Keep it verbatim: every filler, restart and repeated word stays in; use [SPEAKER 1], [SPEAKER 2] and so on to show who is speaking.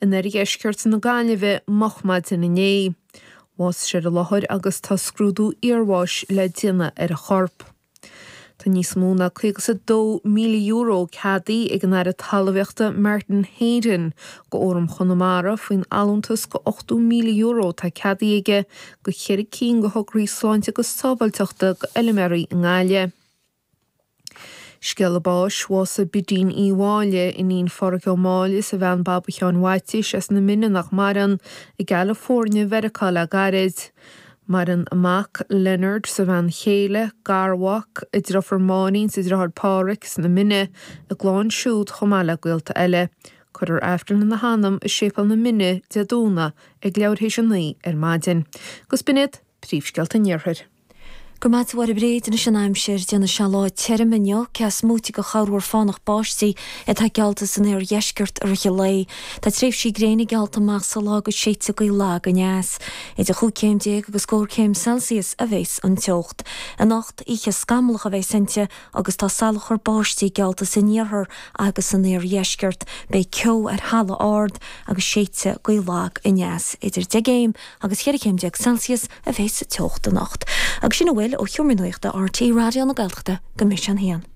[SPEAKER 1] in oirdheisceart na Gaillimhe moch maidin inné. Bhásaigh sé ar an láthair agus tá scrúdú iarbháis le déanamh ar a chorp. Tá níos mó ná caoga is a dó míle euro ceadaithe ag an Aire Talmhaíochta Martin Heydon go Fhóram Chonamara faoin allúntas go ochtó míle euro atá ceadaithe aige go cheithre cinn de thograí sláinte agus sábháilteachta go fheilméaraí i nGaillimh. Scéala báis, bhásaigh Bidín Uí Mháille, iníon Pháraic Ó Máille is a bhean Baba Sheáin Mhaitiais as na Mine nach maireann, i gCalifornia Mheiriceá le gairid. Maireann a mac Leonard is a bhean chéile, garmhac, a deirfiúr Máirín is a deartháir Páraic sna Mine, a gclann siúd chomh maith le gaolta eile. Cuirfear Aifreann ina hanam i Séipéal na Mine Dé Domhnaigh ag leathuair théis a naoi ar maidin. Agus b'in iad príomhscéalta an Iarthair.
[SPEAKER 2] Go raibh maith agat a Mháire Bríd anois an aimsir déanfaidh sé lá tirim inniu cé is móite de chorrmhúr fánach báistí atá geallta san oirdheisceart i rith an lae. Tá tréimhsí gréine geallta amach sa lá agus séidfidh gaoth lag aneas. Idir chúig chéim déag agus scór céim Celsius a bheas an teocht. Anocht oíche scamallach a bheas inti agus tá salachar báistí geallta san iarthar agus san oirdheisceart. Beidh ceo ar thalamh ard agus séidfidh gaoth lag aneas idir deich gcéim agus cheithre chéim déag Celsius a bheas sa teocht anocht. Agus sin a bhfuil ó Sheomra Nuachta RTÉ Raidió na Gaeltachta go mise an haon.